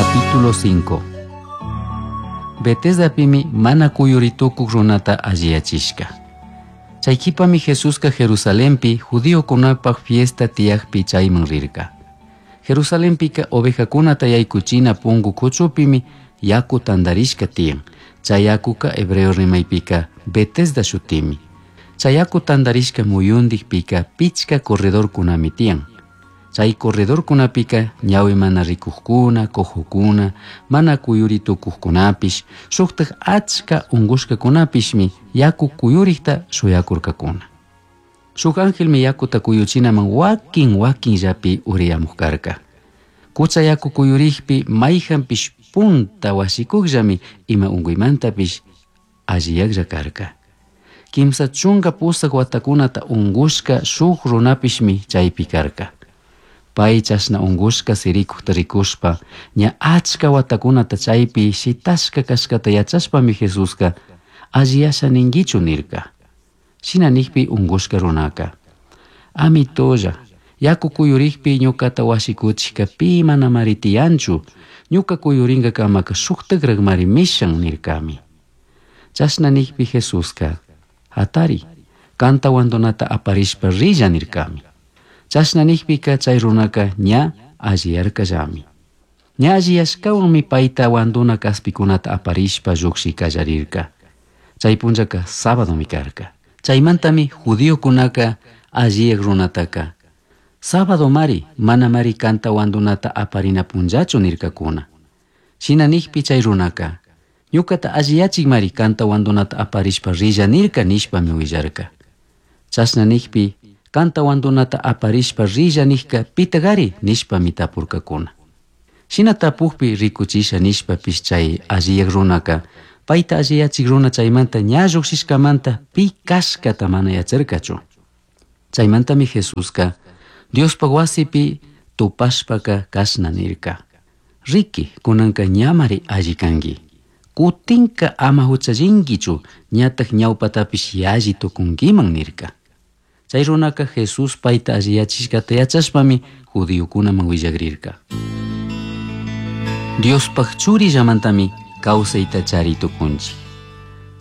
Capítulo 5. Betesdapimi mana kuyuritukuq runata alliyachishka. Chay qhipami Jesusqa Jerusalenpi judiokunapaq fiesta tiyaqpi chayman rirka. Jerusalenpika ovejakunata yaykuchina punku kuchupimi yaku tantarishka tiyan. Chay yakuka hebreo rimaypika Betesda shutimi. Chay yaku tantarishka muyundikpika pichka corredorkunami tiyan. Chay corredorkunapika ñawi mana rikuqkuna, cojokuna, mana kuyuri tukuqkunapish, shuqtaq achka unqushkakunapishmi yaku kuyurikta shuyakurkakuna. Shuk angelmi yakuta kuyuchinaman wakin wakinllapi uriyamuq karka. Kucha yaku kuyurikpi mayhanpish punta wasikuqllami ima unkuymantapish alliyaqlla karka. 38 watakunata unqushka shuk runapishmi chaypi karka. Pay chashna unqushka sirikuqta rikushpa ña achka watakunata chaypi shitashka kashkata yachashpami Jesusqa alliyasha ninkichu nirka. Shina nikpi unqushka runaka: Amitolla, yaku kuyurikpi ñuqata wasikuchikka pi manamari tiyanchu, ñuka kuyurinkakamaka shuktakraqmari mishan nirkami. Chashna nikpi Jesusqa: Hatari, kanta wandunata aparishpa rilla nirkami. Chashna nikpika chay runaka ña alliyarkallami. Ña alliyashkawanmi payta wanduna kaspikunata aparishpa lluqshi qallarirka. Chay punllaka sábadomi karka. Chaymantami judiokunaka alliyaq runataka: Sábado mari, manamari kanta wandunata aparina punllachu nirkakuna. Shina nikpi chay runaka: Ñuqata alliyachikmari kanta wandunata aparishpa rilla nirka nishpami willarka. Chashna nikpi kanta wandunata aparishpa rilla nikka pitaqari nishpami tapurkakuna. Shina tapukpi rikuchisha nishpapish chay alliyaq runaka payta alliyachik runa chaymanta ña lluqshishkamanta pi kashkata mana yacharkachu. Chaymantami Jesusqa Diospaq wasipi tupashpaka kashna nirka: Riki, kunanka ñamari alli kanki. Kutinka ama huchallinkichu, ñataq ñawpatapish yalli tukunkiman nirka. Chay runaka Jesús payta alliyachishkata yachashpami judiokunaman willakrirka. Diospaq churillamantami kawsayta chari tukunchik.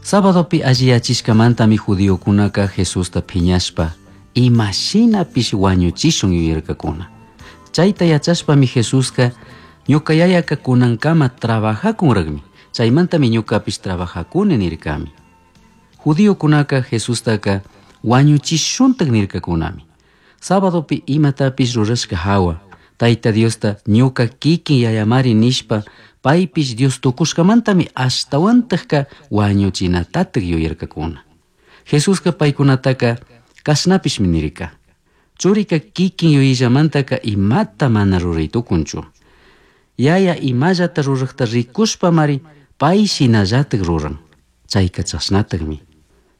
Sabadopi alliyachishkamantami judiokunaka Jesusta phiñashpa imashinapish wañuchishun yuyarkakuna. Chayta yachashpami Jesusqa ñuka yayaka kunankama trabajakunraqmi, chaymantami ñukapish trabajakuni nirkami. Judiokunaka Jesustaka wañuchishuntak nirkakunami. Sabadopi imatapish rurashka hawa, Tayta Diosta ñuka kikin yayamari nishpa paypish Dios tukushkamantami ashtawantaqka wañuchinatataq yuyarkakuna. Jesusqa paykunataka kashnapishmi nirka: Churika kikin yuyillamantaka imata mana ruray tukunchu. Yaya imallata ruraqta rikushpamari pay shinallatak ruran. Chayka chashnataqmi.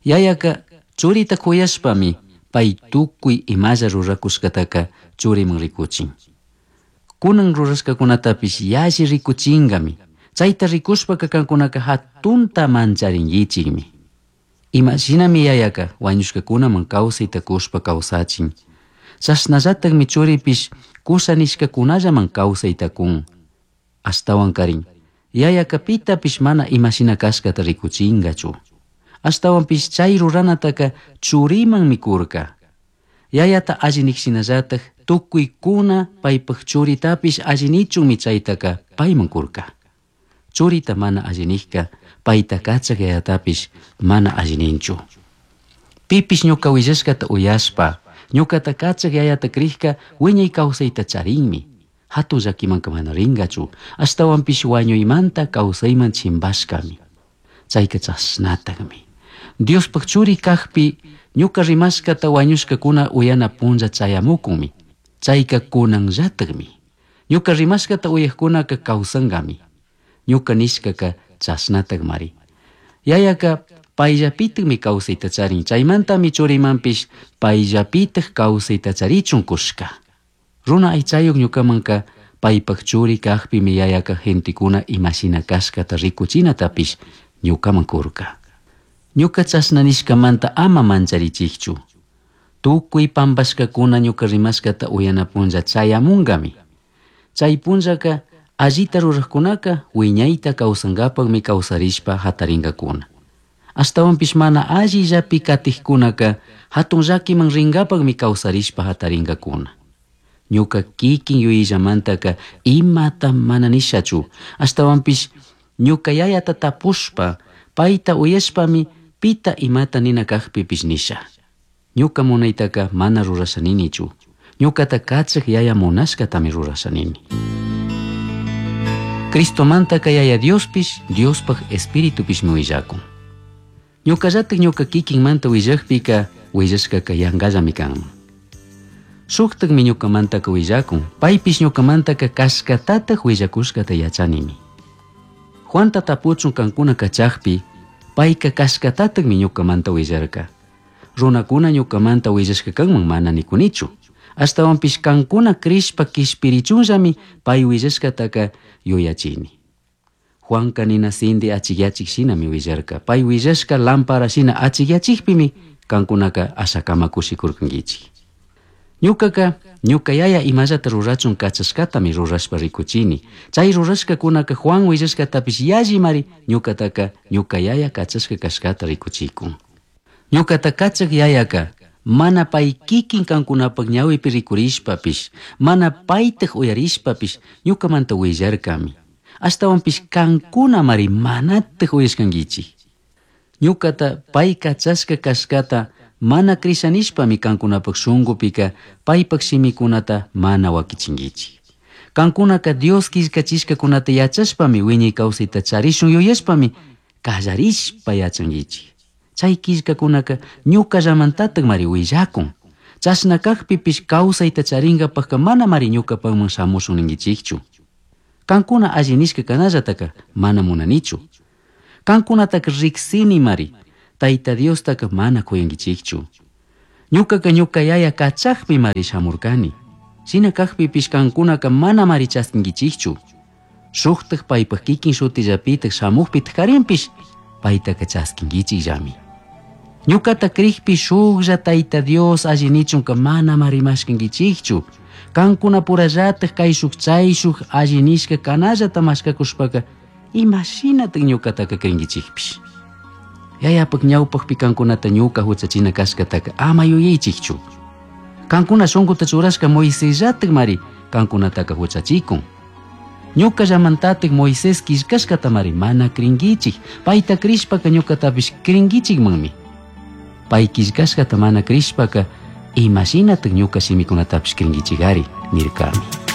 Yayaka churita kuyashpami pay tukuy imalla rurakushkataka churiman rikuchin. Kunan rurashkakunatapish yalli rikuchinkami. Chayta rikushpaka kankunaka hatunta mancharinkichikmi. Imashinami yayaka wañushkakunaman kawsayta kushpa kawsachin. Chashnallatakmi churipish kusha nishkakunallaman kawsayta kun. Ashtawankarin, yayaka pitapish mana imashina kashkata rikuchinkachu. Ashtawanpish chay ruranataka churimanmi kurka. Yayata alli niqshinallatak tukuykuna paypaq churitapish alli nichunmi chaytaka payman kurka. Churita mana alli niqka payta kachaq yayatapish mana alli ninchu. Pipish ñuka willashkata uyashpa, ñukata kachaq yayata krikka wiñay kawsayta charinmi. Hatun llakimanka mana rinkachu, ashtawanpish wañuymanta kawsayman chimpashkami. Chayka chashnataqmi. Diospaq churi kaqpi ñuka rimashkata wañushkakuna uyana punlla chayamukunmi. Chayka kunanllataqmi. Ñuka rimashkata uyaqkunaka kawsankami. Ñuka nishkaka chashnataqmari. Yayaka payllapitaqmi kawsayta charin, chaymantami churimanpish payllapitaq kawsayta charichun kushka. Runa aychayuq ñukamanka paypaq churi kaqpimi yayaka gentekuna imashina kashkata rikuchinatapish ñukaman kurka. Ñuka chashna nishkamanta ama mancharichikchu. Tukuy pampashkakuna ñuka rimashkata uyana punlla chayamunkami. Chay punllaka Allita rurajcunaca huiñaita causangapajmi causarishpa jataringacuna. Ashtahuanpish mana allillapi catijcunaca jatun llaquiman ringapajmi causarishpa jataringacuna. Ñuca kikin yuyillamantaca imata mana nishachu. Ashtahuanpish ñuca yayata tapushpa paita uyashpami pita imata nina cajpipish nisha. Ñuca munaitaca mana rurasha ninichu. Ñucata cachaj yaya munashcatami rurasha nini. Cristomantaca yaya Diospish, Diospaj Espiritupishmi willakun. Ñucallataj ñuca kikinmanta willajpika willashkaka yangallami kanman. Shuktakmi ñucamantaka willakun, paypish ñucamantaka kashkatataj willakushkata yachanimi. Juanta tapuchun kankuna kachajpi, payka kashkatatakmi ñucamanta willarka. Runakuna ñucamanta willashka kanman mana nikunichu. Ashtahuanpish kankuna crishpa kishpirichunllami pay willashkataka yuyachini. Juanka nina sindi achikyachik shinami willarka. Pay willashka lámpara shina achikyachikpimi kankunaka ashakama kushikurkankichik. Ñucaca ñuca yaya imallata rurachun kachashkatami rurashpa rikuchini. Chay rurashkakunaka Juan willashkatapish yallimari ñucataka ñuca yaya kachashka kashkata rikuchikun. Ñucata kachak yayaka mana pay kikin kankunapak ñawipi rikurishpapish, mana paytaj uyarishpapish ñucamanta willarkami. Ashtahuanpish kankunamari manataj uyashkankichik. Ñucata pay kachashka kashkata mana crishanishpami kankunapak shunqupika paypak shimikunata mana wakichinkichik. Kankunaka Dios killkachishkakunata yachashpami wiñay kawsayta charishun yuyashpami kallarishpa yachankichik. Chay killkakunaka ñukallamantatakmari willakun. Chashna kajpipish kawsayta charinkapakka manamari ñukapakman shamushun ninkichikchu. Kankuna alli nishka kanallataka mana munanichu. Kankunataka riksinimari, Tayta Diostaka mana kuyankichikchu. Ñukaka ñuka yaya kachakpimari shamurkani. Shina kajpipish kankunaka manamari chaskinkichikchu. Shuktak paypak kikin shutillapitak shamukpitak karinpish paytaka chaskinkichikllami. Ñukata krikpi shuklla Tayta Dios alli nichunka manamari mashkankichikchu. Kankunapurallatak kayshuk chayshuk alli nishka kanallata mashkakushpaka imashinatak ñukataka krinkichikpish. Yayapak ñawpakpi kankunata ñuka huchachina kashkataka ama yuyaychikchu. Kankuna shunkuta churashka Moisesllatakmari kankunataka huchachikun. Ñukallamantatik Moisés killkashkatamari mana krinkichik. Payta krishpaka ñukatapish krinkichikmanmi. Pay killkashkata mana krishpaka imashinatak ñuka shimikunatapish krinkichikari nirkami.